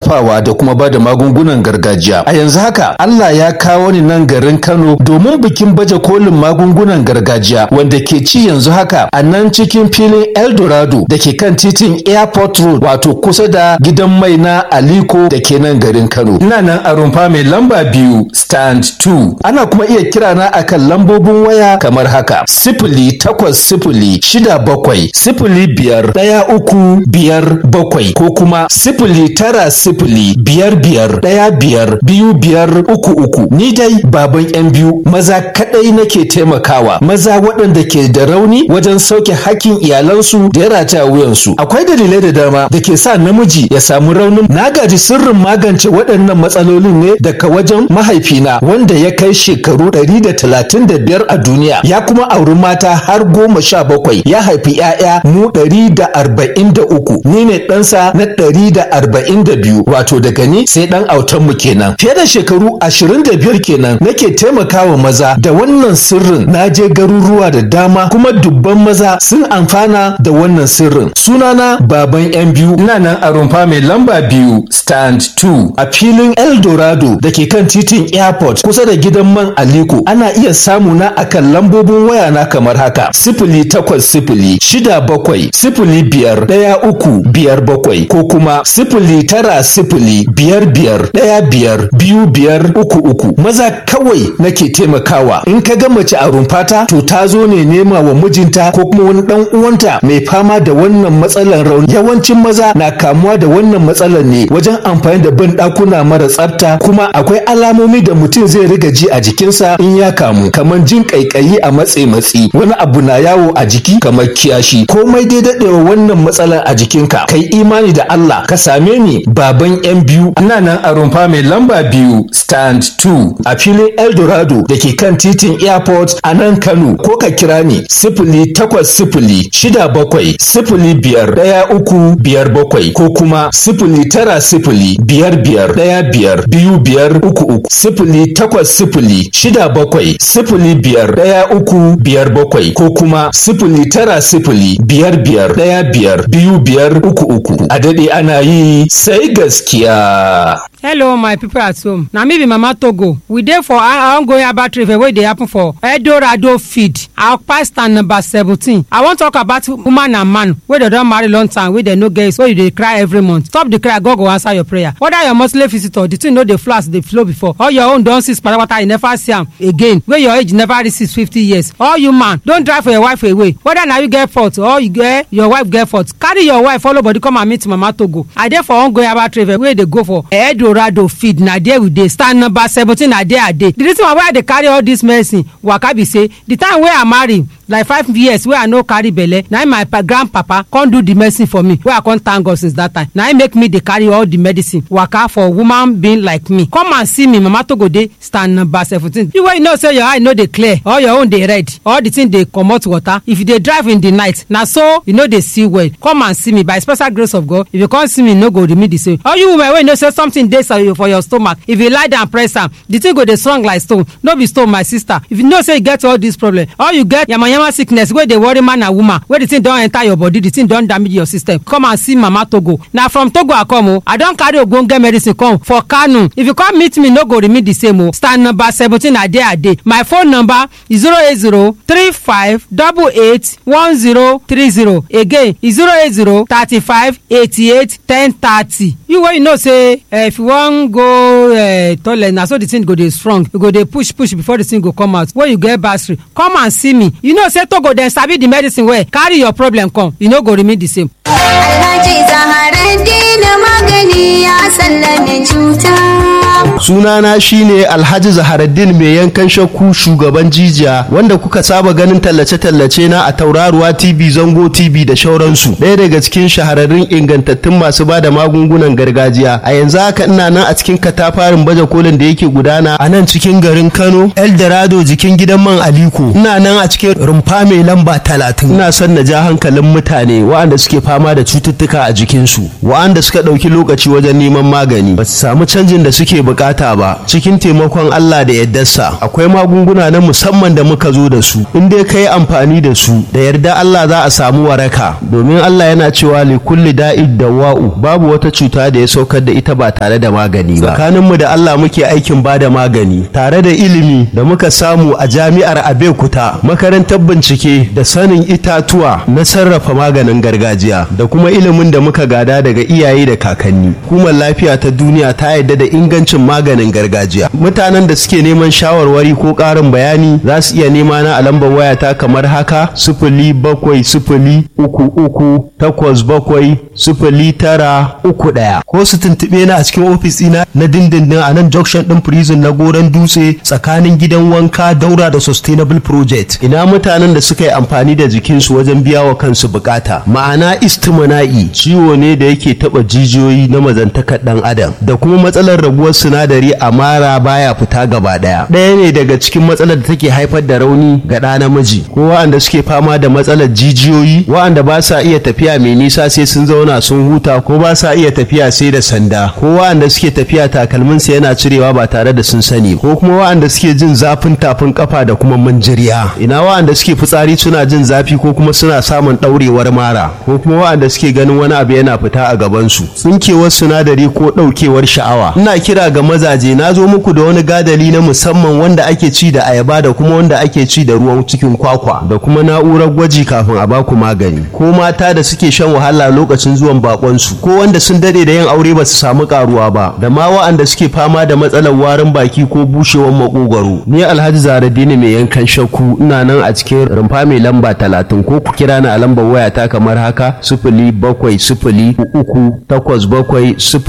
sarrafawa da kuma ba da magungunan gargajiya. A yanzu haka Allah ya kawo ni nan garin Kano domin bikin baje kolin magungunan gargajiya wanda ke ci yanzu haka a nan cikin filin Eldorado da ke kan titin Airport Road, wato kusa da gidan mai na Aliko da ke nan garin Kano. Ina nan a rumfa mai lamba 2 stand 2. Ana kuma iya kira na akan lambobin waya kamar haka: 08067051357 ko kuma 09055152533. Ni dai baban yan biyu maza kadai nake taimakawa, maza waɗanda ke da rauni wajen sauke hakkin iyalansu da ya rataya wuyansu. Akwai dalilai da dama da ke sa namiji ya samu raunin. Na gaji sirrin magance waɗannan matsalolin ne daga wajen mahaifina wanda ya kai shekaru 135 a duniya, ya kuma auri mata har 17, ya haifi 'ya'ya mu 143. Ni ne ɗansa na 142, wato daga ni sai ɗan autanmu kenan. Fiye da shekaru 25 kenan nake taimakawa maza da wannan sirrin. Na je garuruwa da dama kuma dubban maza sun amfana da wannan sirrin. Sunana baban yan biyu. Ina nan a rumfa mai lamba 2 stand 2 a filin Eldorado da ke kan titin Airport kusa da gidan man Aliko. Ana iya samu na akan lambobin waya na kamar haka: 08067051357 ko kuma 09055152533. Maza kawai nake taimakawa. In ka ga mace a rumfata, to ta zo ne nema wa mijinta ko kuma wani dan uwanta mai fama da wannan matsalar rauni. Yawancin maza na kamuwa da wannan matsalar ne wajen amfani da bin ɗakuna mara tsafta, kuma akwai alamomi da mutum zai riga ji a jikinsa in ya kamu, kamar jin ƙaiƙayi a matse matsi, wani abu na yawo a jiki kamar kiyashi. Komai dai daɗewa wannan matsalar a jikinka, kai imani da Allah ka same ni, baban yan biyu. Ina nan a rumfa mai lamba 2 stand 2 a filin Eldorado da ke kan titin Airport a nan Kano, ko ka kira ni 08067051357 ko kuma 09055152533, 08067051357 ko kuma 09055152533. A daɗe ana yi sai gaskiya. Hello my people at home, na me be Mama Togo. We dey for ongoing herbal trade fair wey dey happen for Eldorado field, our stand number 17. I wan talk about woman and man wey dem don marry long time, wey dem no get, wey you dey cry every month. Stop the cry, God go answer your prayer. Whether your monthly visitor, the thing no dey flow as e dey flow before, or your own don cease patapata, you never see am again, wey your age never reach 50 years. All you man don drive for your wife away, whether na you get fault or you get your wife get fault, carry your wife follow body come and meet Mama Togo. I dey for ongoing herbal trade fair wey dey go for Eldorado field. Na there we dey, stand number 17. Na there I dey. The reason why I dey carry all this medicine waka be say the time wey I marry, like 5 years wey I no carry belle, na im my grandpapa come do the medicine for me, wey I come thank God since that time. Na im make me dey carry all the medicine waka for woman being like me. Come and see me, Mama Togo dey stand number 17. You wey you know say your eye no dey clear, or your own dey red, or the thing dey comot water, if you dey drive in the night, na so you no dey see well, come and see me. By special grace of God, if you come see me, no go remain the same. All you women wey know say something dey for your stomach, if you lie down press am, the thing go dey strong like stone. No be stone, my sister. If you know say you get all this problem, or you get yamayama sickness wey dey worry man and woman, wey the thing don enter your body, the thing don damage your system, come and see Mama Togo. Na from Togo I come o. I don carry ogbonge medicine come for Kano. If you come meet me, no go remain the same o. Stand number 17, na there I dey. My phone number is 08035881030. Again, is 08035881030. You wey you know say if you wan go toilet, na so the thing go dey strong, you go dey push push before the thing go come out. When you get battery, come and see me. You know say Togo dem sabi the medicine well. Carry your problem come, you no go remain the same. Alhaji Zaharaddin magani ya sallame cuta. Sunana shine Alhaji Zaharaddin mai yankan shakku, shugaban jijiya, wanda kuka saba ganin tallace-tallace na a Tauraruwa TV, Zango TV da shauransu. Ɗaya daga cikin shahararrun ingantattun masu ba da magungunan gargajiya. A yanzu haka ina nan a cikin katafarin baje kolin da yake gudana a nan cikin garin Kano, Eldorado, jikin gidan man Aliko. Ina nan a cikin rumfa mai lamba 30. Ina son na ja hankalin mutane waɗanda suke fama da cututtuka a jikinsu, waɗanda suka ɗauki lokaci wajen neman magani ba su samu canjin da suke bukata. bukata ba, cikin taimakon Allah da yardarsa akwai magunguna na musamman da muka zo da su. In dai ka yi amfani da su, da yarda Allah za a samu waraka, domin Allah yana cewa li kulli da'id dawa'u, babu wata cuta da ya saukar da ita ba tare da magani ba. Tsakaninmu da Allah muke aikin ba da magani tare da ilimi da muka samu a jami'ar Abeokuta, makarantar bincike da sanin itatuwa na sarrafa maganin gargajiya, da kuma ilimin da muka gada daga iyaye da kakanni. Hukumar lafiya ta duniya ta yarda da ingancin maganin gargajiya. Mutanen da suke neman shawarwari ko ƙarin bayani za su iya nema na a lambar wayata kamar haka: 07033870931, ko su tuntuɓe na a cikin ofis ɗina na dindindin a nan junction ɗin prison na Goron Dutse, tsakanin gidan wanka daura da Sustainable Project. Ina mutanen da suka yi amfani da jikinsu wajen biya wa kansu bukata, ma'ana istimana'i, ciwo ne da yake taba jijiyoyi na mazantakar dan adam, da kuma matsalar raguwar sinadari a mara baya fita gaba daya, ɗaya ne daga cikin matsalar da take haifar da rauni ga ɗa namiji, ko wa'anda suke fama da matsalar jijiyoyi, wa'anda ba sa iya tafiya mai nisa sai sun zauna sun huta, ko ba sa iya tafiya sai da sanda, ko wa'anda suke tafiya takalminsu yana cirewa ba tare da sun sani, ko kuma wa'anda suke jin zafin tafin kafa da kuma manjiriya. Ina wa'anda suke fitsari suna jin zafi, ko kuma suna samun ɗaurewar mara, ko kuma wa'anda suke ganin wani abu yana fita a gabansu, tsinkewar sinadari ko ɗaukewar sha'awa. Ina kira ga mazaje, na zo muku da wani gadali na musamman wanda ake ci da ayaba da kuma wanda ake ci da ruwan cikin kwakwa, da kuma na'urar gwaji kafin a baku magani. Ko mata da suke shan wahala lokacin zuwan bakonsu, ko wanda sun dade da yin aure ba su samu karuwa ba, da ma wa'anda suke fama da matsalar warin baki ko bushewar makogwaro. Ni Alhaji Zaradini mai yankan shakku ina nan a cikin rumfa mai lamba 30, ko ku kira ni a lambar wayata kamar haka: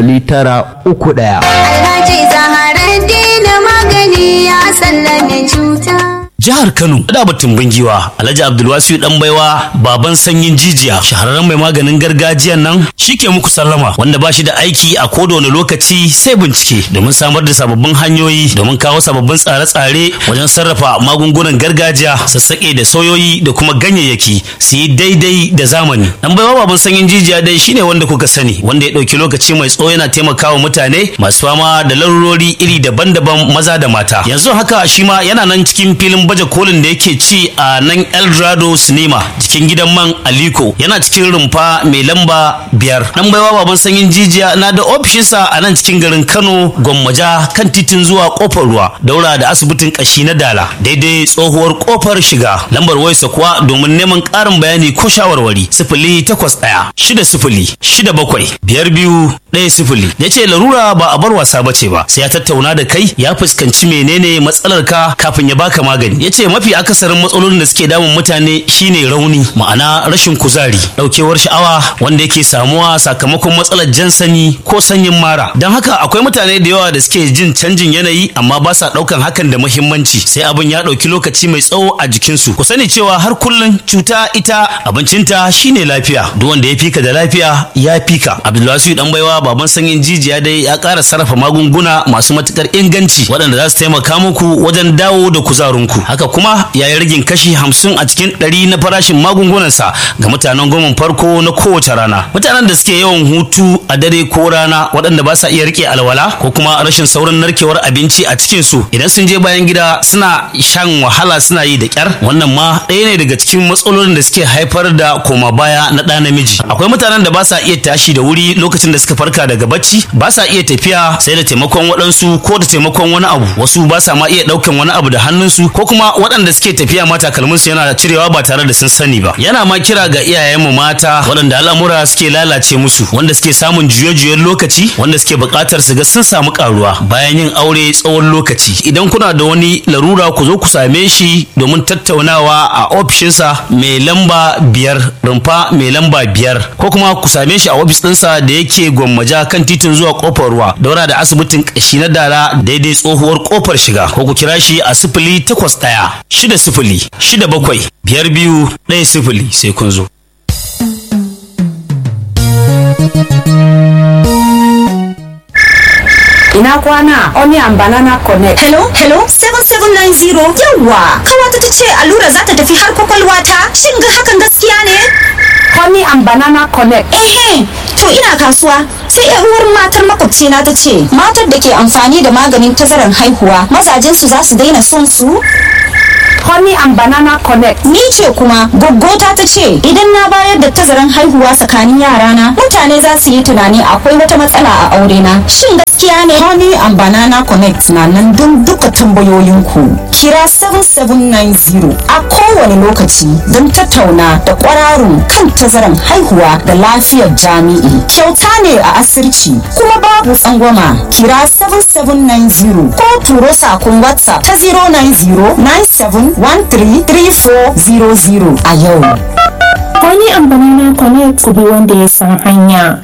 070387091. Alhaji Zaharaddin magani ya sallame cuta. Jihar Kano da batun bingiwa Alhaji Abdulwasiu dan baiwa, baban sanyin jijiya, shahararren mai maganin gargajiyan nan shike muku sallama, wanda ba shi da aiki a koda wani lokaci sai bincike domin samar da sababbin hanyoyi domin kawo sababbin tsare-tsare wajen sarrafa magungunan gargajiya, sassaƙe da soyoyi da kuma ganyayyaki su yi daidai da zamani. Dan baiwa baban sanyin jijiya dai shine wanda kuka sani, wanda ya ɗauki lokaci mai tsawo yana taimakawa mutane masu fama da larurori iri daban-daban, maza da mata. Yanzu haka shi ma yana nan cikin filin baje kolin da yake ci a nan Eldorado Cinema, cikin gidan man Aliko, yana cikin rumfa mai lamba 5. Dan baiwa baban sanyin jijiya na da ofishinsa a nan cikin garin Kano, Gwammaja, kan titin zuwa kofar ruwa, daura da asibitin kashi na Dala, daidai tsohuwar kofar shiga. Lambar wayarsa kuwa domin neman ƙarin bayani ko shawarwari: 08160675210. Ya ce larura ba a bar wasa bace ba, sai ya tattauna da kai ya fuskanci menene matsalar ka kafin ya baka magani. Ya ce mafi akasarin matsalolin da suke damun mutane shine rauni, ma'ana rashin kuzari, daukewar sha'awa wanda yake samuwa sakamakon matsalar jan sani ko sanyin mara. Don haka akwai mutane da yawa da suke jin canjin yanayi amma ba sa daukan hakan da muhimmanci, sai abin ya dauki lokaci mai tsawo a jikinsu. Ku sani cewa har kullum cuta ita abincinta shine lafiya. Duk wanda ya fika da lafiya ya fika. Abdulwasiu dan baiwa baban sanyin jijiya dai ya ƙara sarrafa magunguna masu matukar inganci waɗanda za su taimaka muku wajen dawo da kuzarinku. Haka kuma ya yi ragin kashi 50 a cikin 100 na farashin magungunansa ga mutanen goman farko na kowace rana. Mutanen da suke yawan hutu a dare ko rana, waɗanda ba sa iya rike alwala, ko kuma rashin saurin narkewar abinci a cikin su, idan sun je bayan gida suna shan wahala, suna yi da kyar, wannan ma ɗaya ne daga cikin matsalolin da suke haifar da koma baya na ɗa namiji. Akwai mutanen da ba sa iya tashi da wuri lokacin da suka farka daga bacci, ba sa iya tafiya sai da taimakon waɗansu ko da taimakon wani abu, wasu ba sa ma iya ɗaukan wani abu da hannunsu, ko kuma waɗanda suke tafiya ma takalminsu yana cirewa ba tare da sun sani ba. Yana ma kira ga iyayenmu mata waɗanda al'amura suke lalace musu, wanda suke samun juye-juyen lokaci, wanda suke buƙatar su ga sun samu ƙaruwa bayan yin aure tsawon lokaci, idan kuna da wani larura ku zo ku same shi domin tattaunawa a ofishinsa mai lamba 5, rumfa mai lamba 5, ko kuma ku same shi a ofis ɗinsa da yake Gwammaja, kan titin zuwa kofar ruwa, daura da asibitin ƙashi na Dala, daidai tsohuwar kofar shiga, ko ku kira shi a 08160675210. Sai kun zo. Ina kwana, Onion Banana Connect. Hello, hello, 7790. Yawwa, kawata ta ce allura za ta tafi har kwakwalwa ta. Shin ga hakan gaskiya ne? Honey and Banana Connect. Ehe, to ina kasuwa. Sai yar uwar matar makwabcina ta ce, matar da ke amfani da maganin tazaran haihuwa, mazajen su za su daina son su? Honey and Banana Connect. Ni ce kuma goggota ta ce idan na bayar da tazaran haihuwa tsakanin yarana mutane za su yi tunani akwai wata matsala a aurena. Shin gaskiya ne? Honey and Banana Connect na nan don duka tambayoyinku. Kira 7790 a kowane lokaci don tattauna da kwararun kan tazaran haihuwa da lafiyar jami'i. Kyauta ne a asirci kuma babu tsangwama. Kira 7790 ko turo sakon WhatsApp ta 090 97 133400 a yau. Honey and Banana Connect ku bi wanda ya san hanya.